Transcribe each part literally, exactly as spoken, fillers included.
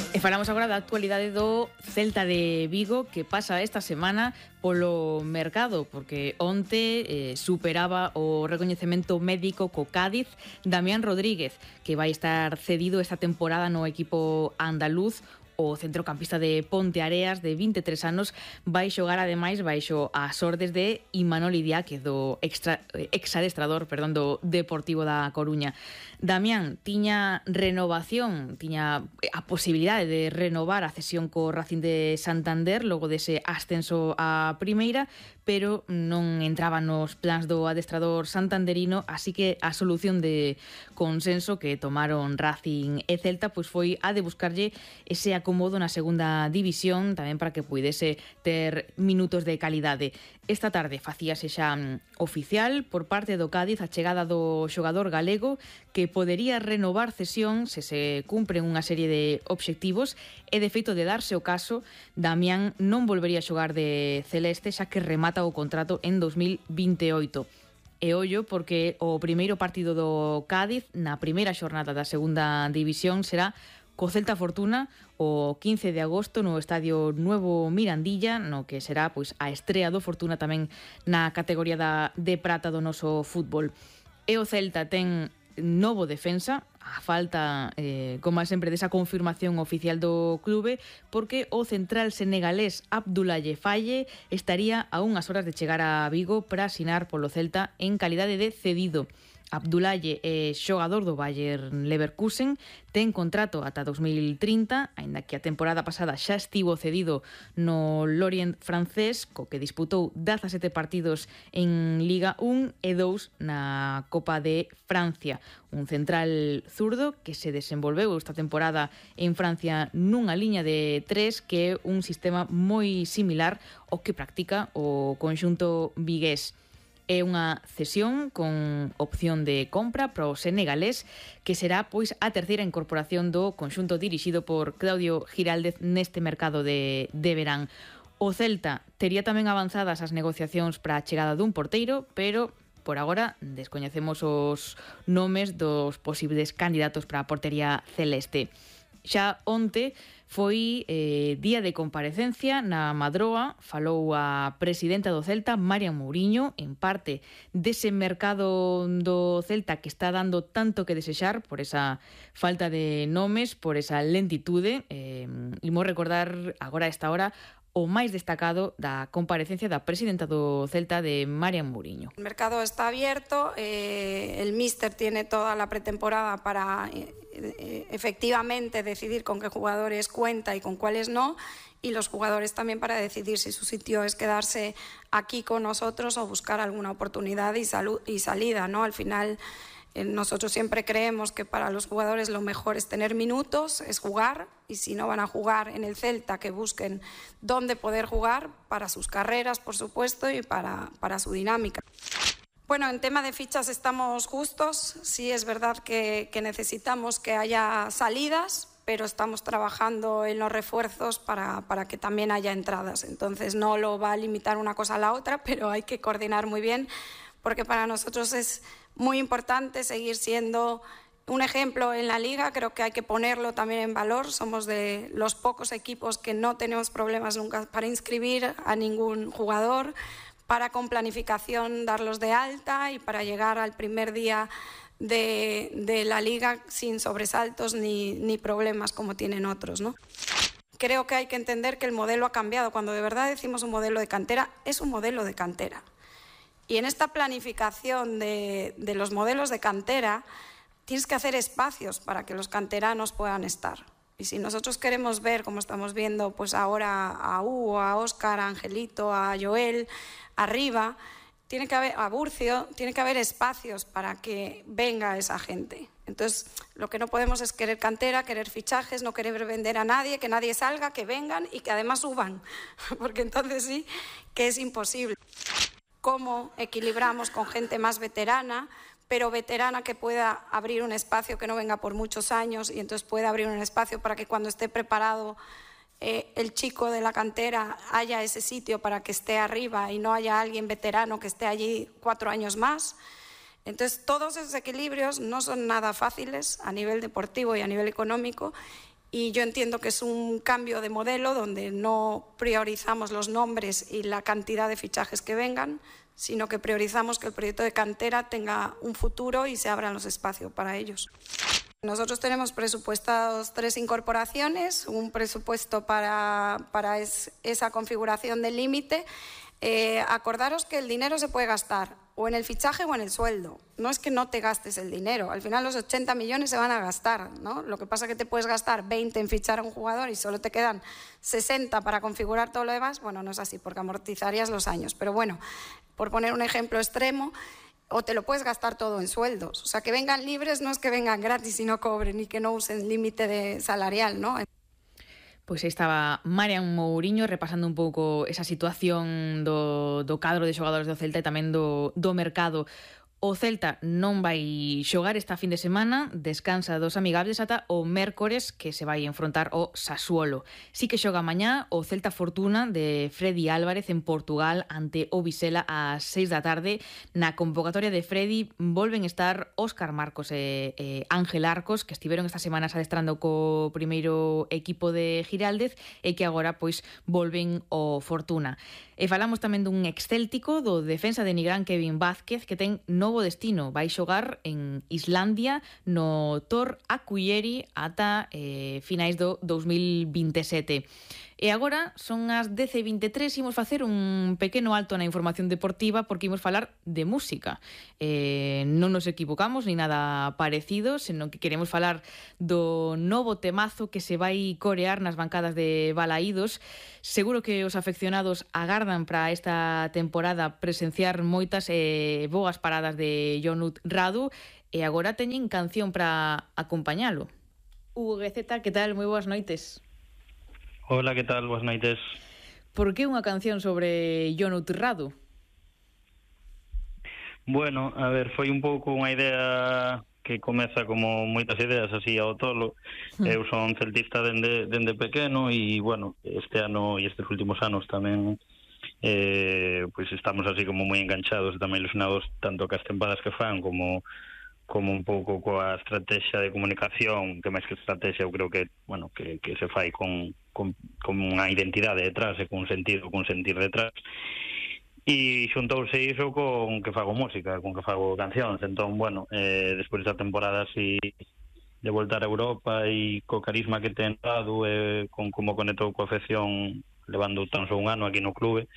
E falamos agora da actualidade do Celta de Vigo, que pasa esta semana polo mercado, porque onte eh, superaba o recoñecemento médico co Cádiz Damián Rodríguez, que vai estar cedido esta temporada no equipo andaluz. O centrocampista de Ponteareas, de vinte e tres anos, vai xogar ademais baixo as ordes de Imanol Idiáquez, do extra, exadestrador perdón, do Deportivo da Coruña. Damián tiña renovación, tiña a posibilidade de renovar a cesión co Racing de Santander logo dese ascenso a primeira, pero non entraba nos plans do adestrador santanderino, así que a solución de consenso que tomaron Racing e Celta pois foi a de buscarlle ese acomodo na segunda división, tamén para que puidese ter minutos de calidade. Esta tarde facíase xa oficial por parte do Cádiz a chegada do xogador galego, que podería renovar cesión se se cumpren unha serie de obxectivos, e de feito de darse o caso, Damián non volvería a xogar de celeste, xa que remata o contrato en dos mil vinte e oito. E ollo, porque o primeiro partido do Cádiz na primeira xornada da segunda división será co Celta Fortuna o quince de agosto no Estadio Nuevo Mirandilla, no que será pois a estrea do Fortuna tamén na categoría da, de prata do noso fútbol. E o Celta ten novo defensa, a falta, eh, como sempre, desa confirmación oficial do clube, porque o central senegalés Abdoulaye Faye estaría a unhas horas de chegar a Vigo para asinar polo Celta en calidade de cedido. Abdoulaye é xogador do Bayern Leverkusen, ten contrato ata dos mil trinta, aínda que a temporada pasada xa estivo cedido no Lorient francés, co que disputou dezasete partidos en Liga un e dous na Copa de Francia. Un central zurdo que se desenvolveu esta temporada en Francia nunha liña de tres, que é un sistema moi similar ao que practica o conxunto vigués. É unha cesión con opción de compra para o senegalés, que será pois a terceira incorporación do conxunto dirixido por Claudio Giraldez neste mercado de, de verán. O Celta tería tamén avanzadas as negociacións para a chegada dun porteiro, pero por agora descoñecemos os nomes dos posibles candidatos para a portería celeste. Xa onte foi eh, día de comparecencia na Madroa, falou a presidenta do Celta, Marian Mouriño, en parte dese mercado do Celta que está dando tanto que desexar por esa falta de nomes, por esa lentitude. Eh, imos recordar agora a esta hora o máis destacado da comparecencia da presidenta do Celta, de Marian Mouriño. El mercado está abierto, eh, el míster tiene toda la pretemporada para eh, eh, efectivamente decidir con qué jugadores cuenta y con cuáles no, y los jugadores también para decidir si su sitio es quedarse aquí con nosotros o buscar alguna oportunidad y, salud, y salida, ¿no? Al final, nosotros siempre creemos que para los jugadores lo mejor es tener minutos, es jugar, y si no van a jugar en el Celta, que busquen dónde poder jugar para sus carreras, por supuesto, y para, para su dinámica. Bueno, en tema de fichas estamos justos, sí es verdad que, que necesitamos que haya salidas, pero estamos trabajando en los refuerzos para, para que también haya entradas. Entonces no lo va a limitar una cosa a la otra, pero hay que coordinar muy bien, porque para nosotros es muy importante seguir siendo un ejemplo en la Liga. Creo que hay que ponerlo también en valor. Somos de los pocos equipos que no tenemos problemas nunca para inscribir a ningún jugador, para con planificación darlos de alta y para llegar al primer día de, de la Liga sin sobresaltos ni, ni problemas como tienen otros, ¿no? Creo que hay que entender que el modelo ha cambiado. Cuando de verdad decimos un modelo de cantera, es un modelo de cantera. Y en esta planificación de, de los modelos de cantera tienes que hacer espacios para que los canteranos puedan estar. Y si nosotros queremos ver, como estamos viendo pues ahora a Hugo, a Óscar, a Angelito, a Joel, arriba, tiene que haber, a Burcio, tiene que haber espacios para que venga esa gente. Entonces, lo que no podemos es querer cantera, querer fichajes, no querer vender a nadie, que nadie salga, que vengan y que además suban, porque entonces sí que es imposible. Cómo equilibramos con gente más veterana, pero veterana que pueda abrir un espacio, que no venga por muchos años y entonces pueda abrir un espacio para que cuando esté preparado eh, el chico de la cantera haya ese sitio para que esté arriba y no haya alguien veterano que esté allí cuatro años más. Entonces todos esos equilibrios no son nada fáciles a nivel deportivo y a nivel económico, y yo entiendo que es un cambio de modelo donde no priorizamos los nombres y la cantidad de fichajes que vengan, sino que priorizamos que el proyecto de cantera tenga un futuro y se abran los espacios para ellos. Nosotros tenemos presupuestados tres incorporaciones, un presupuesto para, para es, esa configuración del límite. Eh, acordaros que el dinero se puede gastar o en el fichaje o en el sueldo. No es que no te gastes el dinero. Al final los ochenta millones se van a gastar, ¿no? Lo que pasa es que te puedes gastar veinte en fichar a un jugador y solo te quedan sesenta para configurar todo lo demás. Bueno, no es así porque amortizarías los años. Pero bueno, por poner un ejemplo extremo, o te lo puedes gastar todo en sueldos. O sea, que vengan libres no es que vengan gratis y no cobren y que no usen límite de salarial, ¿no? Pois aí estaba Marian Mouriño repasando un pouco esa situación do, do cadro de xogadores do Celta e tamén do, do mercado. O Celta non vai xogar esta fin de semana, descansa dos amigables ata o mércores que se vai enfrontar o Sassuolo. Sí que xoga mañá o Celta Fortuna de Freddy Álvarez en Portugal ante o Vizela ás seis da tarde. Na convocatoria de Freddy volven estar Óscar Marcos e, e Ángel Arcos, que estiveron estas semanas adestrando co primeiro equipo de Giraldez e que agora pois volven ao Fortuna. E falamos tamén dun excéltico do defensa de Nigrán Kevin Vázquez que ten novo destino. Vai xogar en Islandia no Tor Akureyri ata eh, finais do dous mil vinte e sete. E agora son as dez e vinte e tres, imos facer un pequeno alto na información deportiva porque imos falar de música. Eh, non nos equivocamos ni nada parecido, senón que queremos falar do novo temazo que se vai corear nas bancadas de Balaídos. Seguro que os afeccionados agardan para esta temporada presenciar moitas e eh, boas paradas de Jonut Radu e agora teñen canción para acompañalo. Hugo Gueceta, que tal? Moi boas noites. Hola, que tal? Boas noites. Por que unha canción sobre Jonut Radu? Bueno, a ver, foi un pouco unha idea que comeza como moitas ideas así ao tolo. Mm. Eu son celtista dende, dende pequeno e, bueno, este ano e estes últimos anos tamén eh, pois estamos así como moi enganchados e tamén ilusionados tanto cas tempadas que fan como como un pouco coa estrategia de comunicación, que máis que estrategia eu creo que, bueno, que, que se fai con, con, con unha identidade detrás e con un sentido, con un sentir detrás. E xuntouse iso con que fago música, con que fago cancións. Entón, bueno, eh, despois desta temporada así de voltar a Europa e co carisma que ten dado, eh, con como conectou coa afección levando tan só un ano aquí no clube,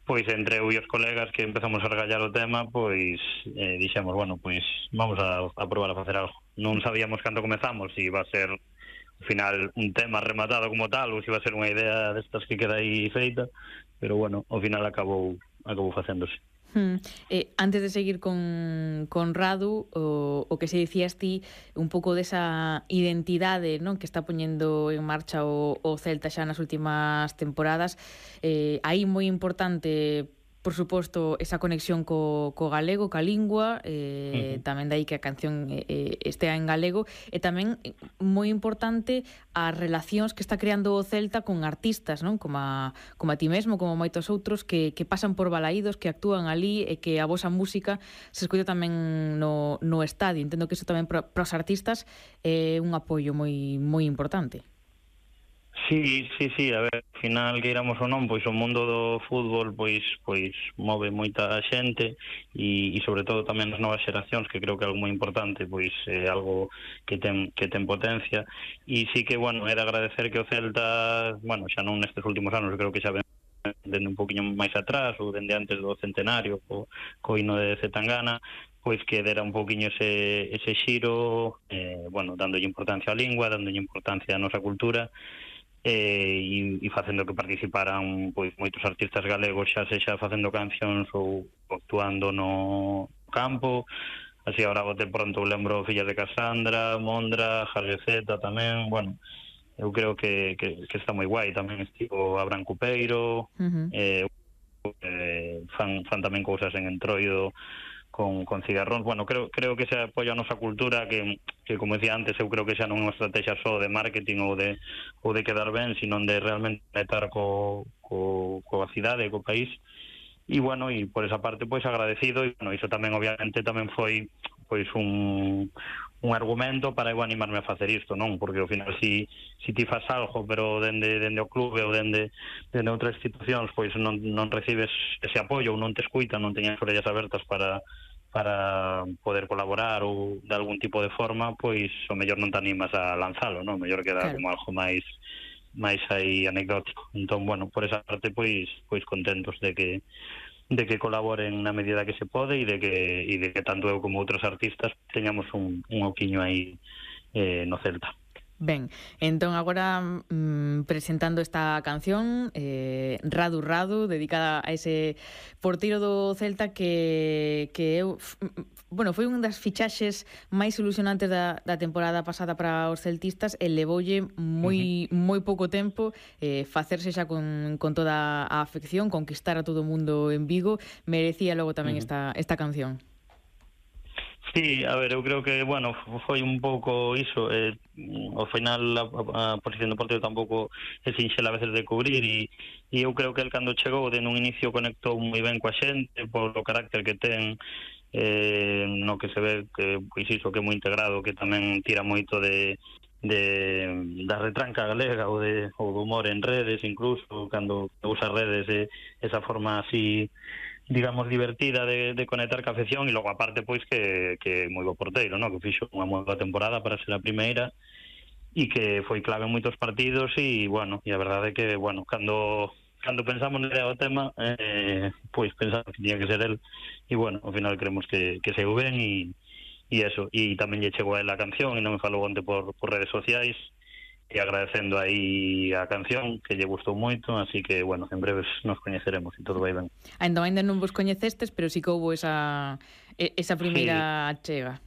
pois entre eu e os colegas que empezamos a regallar o tema, pois eh, dixemos, bueno, pois vamos a, a probar a facer algo. Non sabíamos cando comezamos se iba a ser ao final un tema rematado como tal ou se iba a ser unha idea destas que queda aí feita, pero bueno, ao final acabou acabou facéndose. Hmm. Eh, antes de seguir con, con Radu, o, o que se dicías ti un pouco desa identidade, non, que está poñendo en marcha o, o Celta xa nas últimas temporadas, eh, aí moi importante, por suposto, esa conexión co, co galego, ca lingua, eh, uh-huh. tamén dai que a canción eh, estea en galego, e tamén moi importante as relacións que está creando o Celta con artistas, non? Como a, como a ti mesmo, como moitos outros que, que pasan por Balaídos, que actúan ali e que a vosa música se escoita tamén no, no estadio. Entendo que iso tamén para os artistas é un apoio moi moi importante. Sí, sí, sí, a ver, ao final que iramos ou non, pois o mundo do fútbol pois pois move moita xente e, e sobre todo tamén as novas xeracións, que creo que é algo moi importante, pois é algo que ten que ten potencia e sí que, bueno, era agradecer que o Celta, bueno, xa non nestes últimos anos, creo que xa ven dende un poquinho máis atrás ou dende antes do centenario co, co hino de Zetangana, pois que dera un poquinho ese, ese xiro, eh, bueno, dándolle importancia á lingua, dándolle importancia á nosa cultura, eh, e, e facendo que participaran pois moitos artistas galegos, xa sexa facendo cancións ou actuando no campo. Así agora bote pronto lembro Fillas de Casandra, Mondra, Jargueceta tamén, bueno, eu creo que, que, que está moi guai. Tamén estivo Abraham Cupeiro, uh-huh. eh, eh, fan, fan tamén cousas en Entroido con, con cigarróns. Bueno, creo creo que se apoia a nosa cultura, que, que como decía antes, eu creo que xa non é unha estrategia só de marketing ou de ou de quedar ben, sino de realmente conectar co, co, coa cidade, co país. E bueno, e por esa parte pois agradecido, e bueno, iso tamén obviamente tamén foi pois un un argumento para eu animarme a facer isto, non? Porque ao final si, si ti faz algo, pero dende, dende o clube ou dende, dende outras institucións, pois non, non recibes ese apoio ou non te escuitan, non teñas orellas abertas para para poder colaborar ou de algún tipo de forma, pois o mellor non te animas a lanzalo, non? O mellor queda claro, como algo máis máis aí anecdótico. Entón, bueno, por esa parte, pois pois contentos de que de que colaboren na medida que se pode e de que e de que tanto eu como outros artistas teñamos un, un oquiño aí eh, no Celta. Ben, entón agora mm, presentando esta canción eh, Radu Radu, dedicada a ese porteiro do Celta que, que eu, bueno, foi unha das fichaxes máis ilusionantes da, da temporada pasada para os celtistas e levoulle moi, uh-huh. moi pouco tempo eh, facerse xa con, con toda a afección, conquistar a todo o mundo en Vigo. Merecía logo tamén uh-huh. esta, esta canción. Sí, a ver, eu creo que, bueno, foi un pouco iso, eh, ao final a, a posición do porteiro tampouco é sinxela a veces de cubrir e, e eu creo que el cando chegou de nun inicio conectou moi ben coa xente polo carácter que ten, eh, no que se ve que, pois iso, que é moi integrado, que tamén tira moito de de da retranca galega ou, de, ou do humor en redes, incluso cando usa redes, eh, esa forma así digamos, divertida de, de conectar ca afección e logo aparte, pois, que, que moi bo porteiro, no? Que fixo unha moi boa temporada para ser a primeira e que foi clave en moitos partidos e, bueno, e a verdade é que, bueno, cando cando pensamos nele o tema, eh, pois pensamos que tiña que ser el e, bueno, ao final creemos que, que saiu ben e, e eso, e tamén lle chegou a él a canción e non me falou onte por, por redes sociais e agradecendo aí a canción que lle gustou moito, así que, bueno, en breves nos coñeceremos e todo vai ben. Ainda ainda non vos coñecestes, pero sí que houbo esa esa primeira sí. chega.